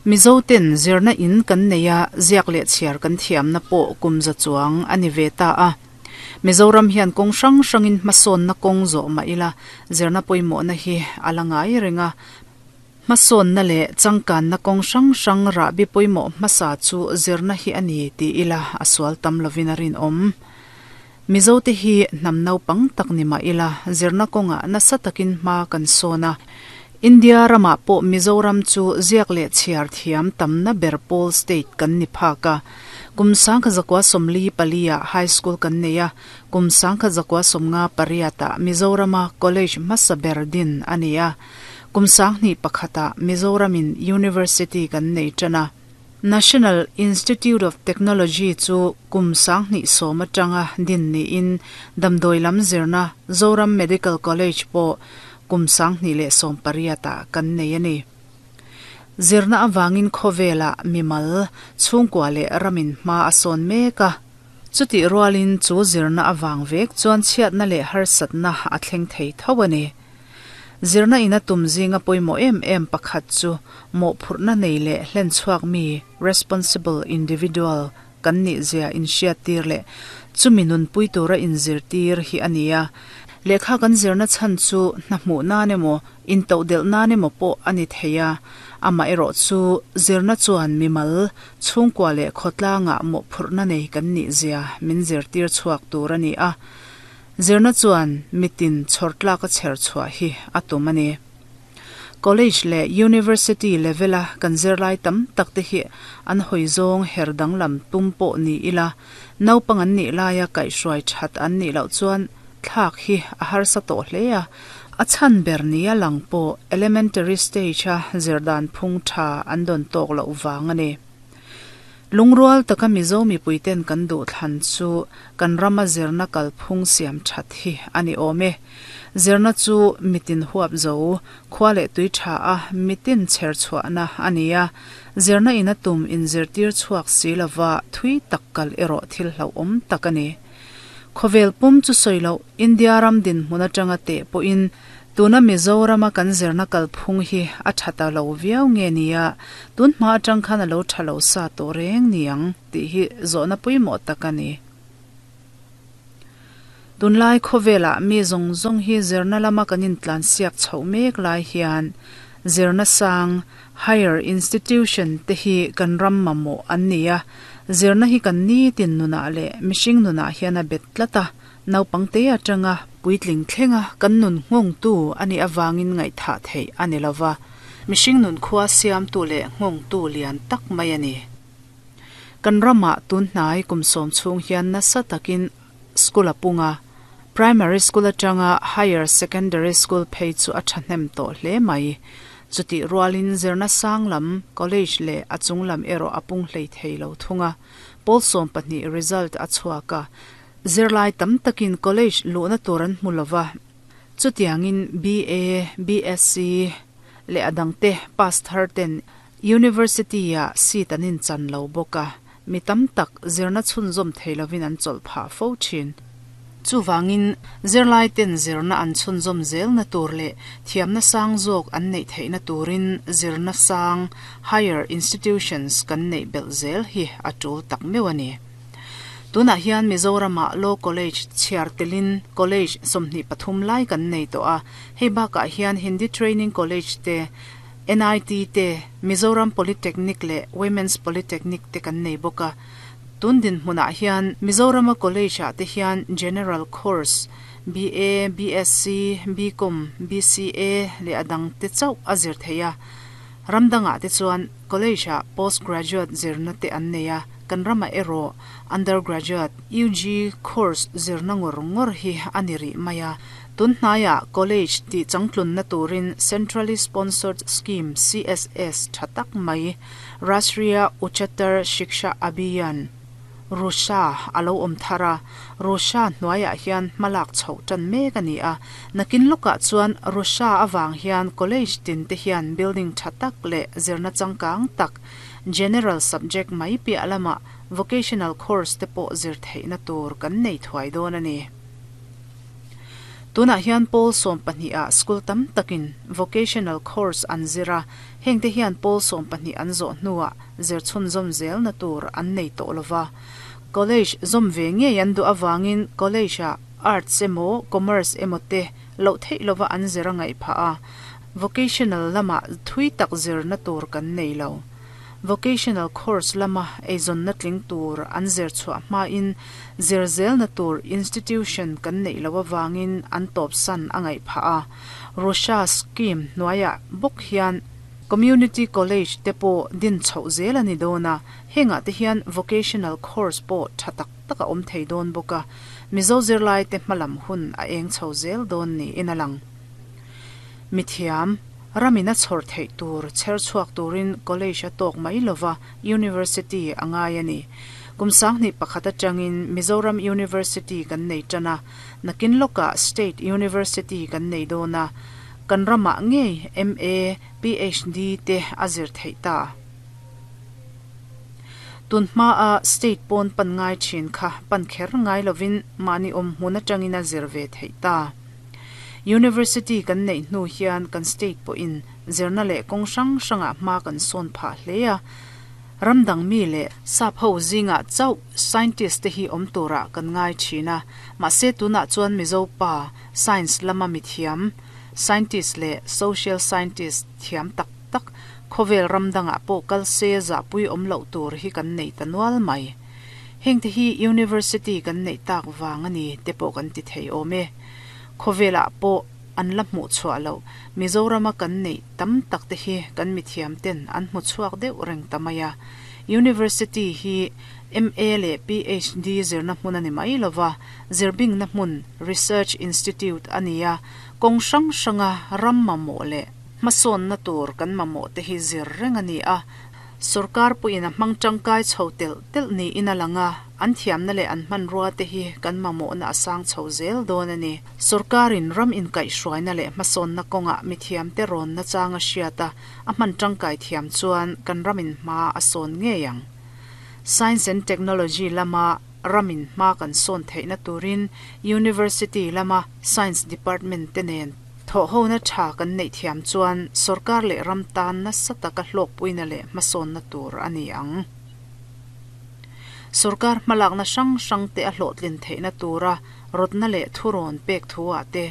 Mizoten zirna in kan nei a, ziak leh chhiar kan thiamna pawh kum za chuang a ni ve ta a. Mizoram hian kawng hrang hrangin hmasawnna kawng zawh mah ila, zirna pawimawhna hi a la ngai reng a. Hmasawnna leh changkanna kawng hrang hrang rahbi pawimawh hmasa chu zirna hi a ni ti ila a sual tam lovin a rinawm. Mizote hi hnam naupang tak ni mah ila zirna kawngah nasa takin hma kan sawn a. India ramah pawh Mizoram chu ziak leh chhiar thiam tamna ber pawl state kan ni phak a. Kum 1944 ah High School kan nei a, kum 1958 ah Mizorama College hmasa ber din a ni a. Kum 2001 ah Mizoramin University kan nei tan a. National Institute of Technology chu kum 2010 atanga din niin damdawi lam zirna Zoram Medical College pawh kum 2018 ah kan nei a ni. Zirna avangin khawvelah mimal, chhungkua leh ramin hma a sawn mek a. Chutih rualin chu zirna avang vek chuan chhiatna leh harsatna a thleng thei tho a ni. Zirna ina tum zinga pawimawh em em pakhat chu mawhphurhna nei leh hlenchhuak mi, responsible individual, kan nih zia inhriattir leh chumi nunpui tura inzirtir hi a ni a. Lehkha kan zirna chhan chu hna hmuh nan emaw, intohdelh nan emaw pawh a ni thei a. Amaherawh chu zirna chuan mimal, chhungkua leh khawtlangah mawhphurhna nei kan nih zia min zirtir chhuak tur a ni a. Zirna chuan mitin chhawrtlak a chher chhuah hi a tum a ni. College leh University level a kan zirlai tam tak te hi an hawi zawng her danglam tum pawh ni ila, naupang an nih laia kaihhruai that an nih loh chuan thlak hi a harsa tawh hle a. A chhan ber nia lang pawh elementary stage a zirdan phung tha an dawn tawk loh vang a ni. Lungrual taka Mizo mipuiten kan duhthlan chu kan rama zirna kalphung siam that hi a ni awm e. Zirna chu mitin huap zo, khua leh tui tha a mitin chher chhuahna a ni a. Zirna ina tum inzirtir chhuak si lova thui tak kal erawh thil hlauhawm tak a ni. Khawvel pum chu sawi loh India ram dinhmun atanga teh pawhin Tuna Mizorama kan zirna kalphung hi a tha ta lo viau nge nia, tun hma atang khan a lo tha lo sa tawh reng ni ang tih hi zawhna pawimawh tak a ni. Tunlai khawvelah mi zawng zawng hi zirna lama kan intlansiak chhoh mek lai hian zirna sang, higher institution, te hi kan ram mamawh an ni a, zirna hi kan nitin nunah leh mihring nunah hian a bet tlat a, Naupangte atanga puitling thlenga kan nun nghawngtu a nih avangin ngaihthah theih a ni lova, mihring nun khua siamtu leh nghawngtu lian tak mai a ni. Kan ramah tun hnai kum sawm chhung hian nasa takin school a pung a, primary school atanga higher secondary school phei chu a thahnem tawh hle mai. Chutih rualin zirna sang lam, college leh a chung lam erawh a pung hlei thei lo thung a, pawl 12 result a chhuak a, Zirlai tam takin college luhna tur an hmu lova, chutiangin BA, BSc leh a dangte pass thar ten University-ah seat an inchan lo bawk a, mi tam tak zirna chhunzawm thei lovin an chawlh phah fo thin. Chuvangin zirlai ten zirna an chhunzawm zelna tur leh thiamna sang zawk an neih theihna turin zirna sang, higher institutions, kan neih belh zel hi a tul tak meuh a ni. Tunah hian Mizoramah Law College chhiar telin College 23 lai kan nei tawh a, hei bakah hian Hindi Training College te, NIT te, Mizoram Polytechnic leh Women's Polytechnic te kan nei bawk a. Tun dinhmunah hian Mizorama College-ah te hian General Course, BA, BSc, BCom, BCA leh a dangte chauh a zir theih a. Ram dangah te chuan College-ah Postgraduate zirna te an nei a, kan ramah erawh Undergraduate, UG, course zirna ngawr ngawr hi a ni rih mai a. Tun hnaiah College tih changtlunna turin Centrally Sponsored Scheme, CSS, tha tak mai, Rashtriya Uchchatar Shiksha Abhiyan, Rusha, a lo awm thar a, Rusha hnuaiah hian hmalak chhoh tan mek a ni a. Nakin lawkah chuan Rusha avang hian college tin te hian building tha tak leh zirna changkang tak, general subject mai piah lamah vocational course te pawh zir theihna tur kan nei thuai dawn a ni. Tunah hian pawl 12 ah school tam takin vocational course an zir a, hengte hian pawl 12 an zawh hnuah zir chhunzawm zelna tur an nei tawh lova. College zawm ve ngei an duh avangin college ah arts emaw commerce emaw te loh theih lova an zir a ngaih phah a, vocational lamah thui tak zirna tur kan nei lo. Vocational course lama eizawnna tling tur an zir chhuah hmain zir zelna tur institution kan neih loh avangin an tawpsan a ngaih phah a. Russia scheme hnuaiah bawk hian Community College te pawh din chhoh zel a ni dawn a, hengah te hian vocational course pawh tha tak tak a awm thei dawn bawk a, Mizo zirlaite hmalam hun a eng chho zel dawn niin a lang. Mithiam, ramin a chhawr theih tur chher chhuak turin college a tawk mai lova University a ngai a ni. Kum 2001 atangin Mizoram University kan nei tan a, nakin lawkah State University kan nei dawn a, kan ramah ngei MA, PhD te a zir theih ta. Tun hmaa state pawn pan ngai thin kha pan kher ngai lovin mahni awm hmun atangin a zir ve theih ta. University kan neih hnu hian kan state pawhin zirna leh kawng hrang hrangah hma kan sawn phah hle a. Ram dang mi leh sap ho zingah chauh scientist te hi awm turah kan ngai thin a, mahse tunah chuan Mizo pa science lama mithiam, scientist leh social scientist thiam tak tak khawvel ram dangah pawh kal se zahpui awm loh tur hi kan nei ta nual mai. Hengte hi University kan neih tak vang a ni te pawh kan ti thei awm e. Khawvelah pawh an la hmuh chhuah loh Mizorama kan neih tam tak te hi kan mithiam ten an hmu chhuak deuh reng ta mai a. University hi MA leh PhD zirna hmun a ni mai lova, zirbingna hmun, research institute, a ni a, kawng hrang hranga ram mamawh leh hmasawnna tur kan mamawh te hi zir reng a ni a. Sorkar pawhin a hmang tangkai chho telh telh niin a lang a, an thiamna leh an hmanrua te hi kan mamawhna a sang chho zel dawn a ni. Sorkarin ram inkaihhruaina leh hmasawnna kawngah mithiamte rawnna chang a hriat a, a hman tangkai thiam chuan kan ramin hma a sawn ngei ang. Science and Technology lama ramin hma kan sawn theihna turin University lama Science Department te nen Thawhhona tha kan neih thiam chuan sorkar leh ram tan nasa taka hlawkpuina leh hmasawnna tur a ni ang. Sorkar hmalakna hrang hrangte a hlawhtlin theihna tura rawtna leh thurawn pek thuah te.